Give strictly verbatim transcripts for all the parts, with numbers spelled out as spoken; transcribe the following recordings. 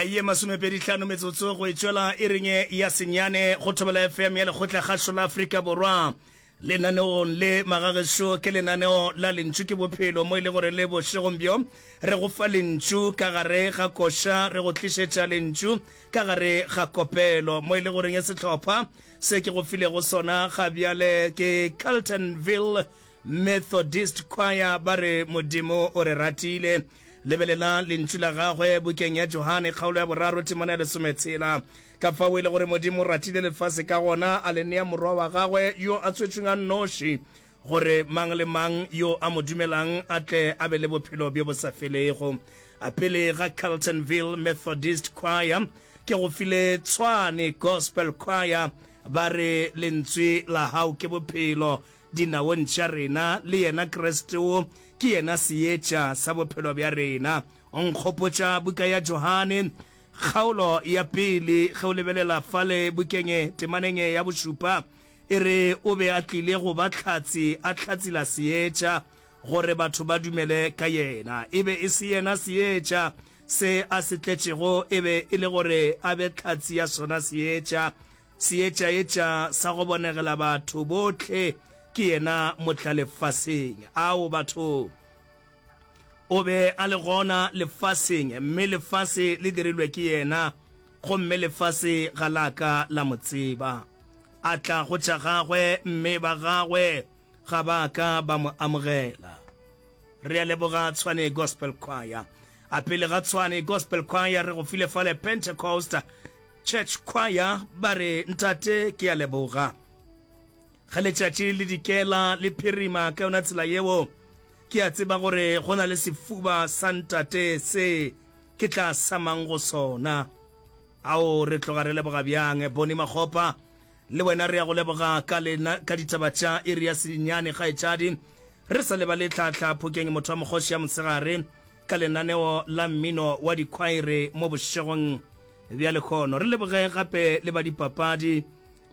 Ye masomepedi hlano metsotso go e tšwela iring ya senyane go Thobela F M ya Lekgotla Kgašo la Afrika Borwa. Lenaneong le magagešo ke lenaneo la Lentšu ke Bophelo, mo e le gore le bošegong bjo re go fa lentšu ka gare ga koša, re go tlišetša lentšu ka gare ga kopelo, mo e le goreng sehlopha se ke go filego sona ga bjale ke Carltonville Methodist Choir, ba re Modimo o re ratile. Lebelela lentšu la gagwe bukeng ya Johane kgaolo ya boraro temana ya lesometshela, ka fao e le gore Modimo o ratile lefase ka gona a le nea morwa wa gagwe yo a tswetšweng a nnoši, gore mang le mang yo a mo dumelang a tle a be le bophelo bjo bo sa felego. A pele ga Carltonville Methodist Choir ke go file Tshwane Gospel Choir, ba re lentswe la hao ke bophelo dinaong tša rena, le yena Kriste o ke yena seetša sa bophelo bja rena. O nkgopotša buka ya Johane kgaolo ya pele, ge o lebelela fale bukeng temaneng ya bošupa, e re o be a tlile go ba hlatse, a hlatsela seetša, gore batho ba dumele ka yena. E be e se yena seetša se a se tletšego, e be e le gore a be hlatse ya sona seetša. Seetša etša sa go bonegela batho bohle ke yena motla lefaseng. Ao batho, o be a le gona lefaseng, mme lefase le dirilwe ke yena, gomme lefase ga la ka la mo tseba. A tla go tša gagwe, mme ba gagwe ga ba ka ba mo amogela. Re a leboga Tshwane Gospel Choir. A pele ga Tshwane Gospel Choir re go file fale Pentecost Church Choir, ba re ntate ke a leboga. Ge letšatši le dikela le phirima ka yona tsela yeo, ke a tseba gore go na le sefuba sa ntate se ke tla samang go sona. Ao re tloga re leboga bjang Boni Makgopa, le wena re ya go leboga ka lena ka ditaba tša iri ya senyane kgaetšadi. Re sa lebale Tlhahla Phokeng motho wa mokgoši ya mosegare ka lenaneo la mmino wa dikhwaere mo bošegong bja lekgono. Re leboge gape le ba dipapadi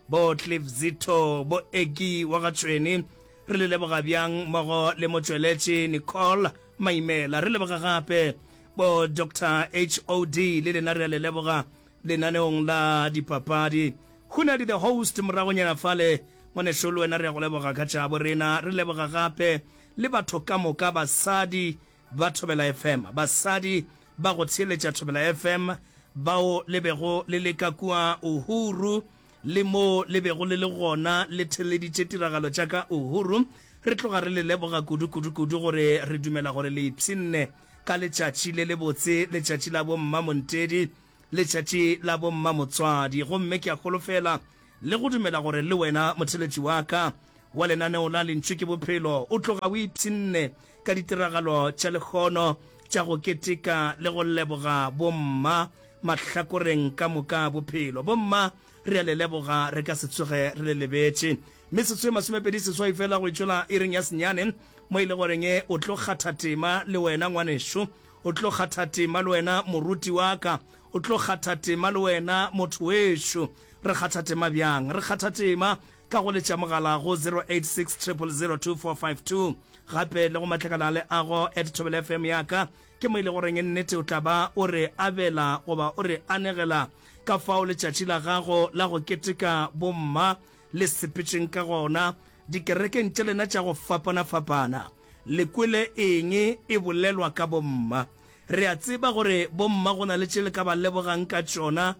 bo Cliff Zito, bo Egi wa ga Tšhweni, re le leboga bjang mmogo le motšweletši Nicole Maimela. Re leboga gape bo Doctor H O D, le lena re a le leboga lenaneong la dipapadi. Hunadi the host moragonyana fale, ngwanešo le wena re ya go leboga ka tša borena. Re leboga gape le batho ka moka, basadi ba Thobela F M, basadi ba go theeletša Thobela F M bao le bego le le ka kua Uhuru le mo le bego le le gona le theeleditše tiragalo tša ka Uhuru. Re tloga re le leboga kudu kudu kudu gore re dumela gore le ipshinne ka letšatši le lebotse, letšatši la bomma Montedi, letšatši la bomma motswadi. Gomme ke a holofela le go dumela gore le wena motheletši wa ka wa lenaneo la Lentšu ke Bophelo o tloga o ipshinne ka ditiragalo tša lekgono tša go keteka le go leboga bomma mahlakoreng ka moka bophelo. Bomma re a le leboga, re ka se tsoge re le lebetše. Metsotso e masomepedi seswai fela go itšwela iring ya senyane, mo e le goreng o tlo kgatha tema le wena ngwanešo, o tlo kgatha tema le wena moruti wa ka, o tlo kgatha tema le wena motho wešo. Re kgatha tema bjang? Re kgatha tema ka go letša mogala go zero eight six zero zero zero two four five two, gape le go matlakala a leago at Thobela F M ya ka, ke mo e le goreng nnete o tla ba o re abela goba o re anegela ka fao letšatši la gago la go keteka bomma le sepetšeng ka gona dikerekeng tša lena tša go fapana-fapana. Le kwele eng e bolelwa ka bomma? Re a tseba gore bomma go na le tše le ka ba lebogang ka tšona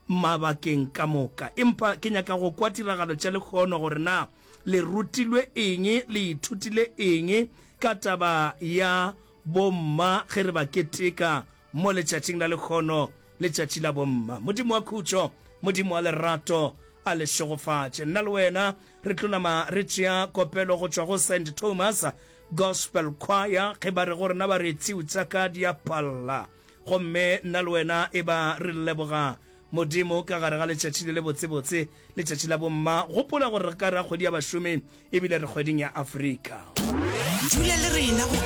mabakeng ka moka, empa ke nyaka go kwa tiragalo tša lekgono gore na le rutilwe eng, le ithutile eng ka taba ya bomma ge re ba keteka mo letšatšing la lekgono, letšatši la bomma. Modimo wa khutšo, Modimo wa lerato a le šegofatše. Nna le wena re tlo nama re tšea kopelo go tšwa go Saint Thomas Gospel Choir ge ba re go rena ba re tšiu tša ka di a palla. Gomme nna le wena e ba re leboga Modimo ka gare ga letšatši le le botsebotse, letšatši la bomma. Gopola gore re ka ra kgwedi ya bašomi ebile re kgweding ya Afrika. Dula le rena go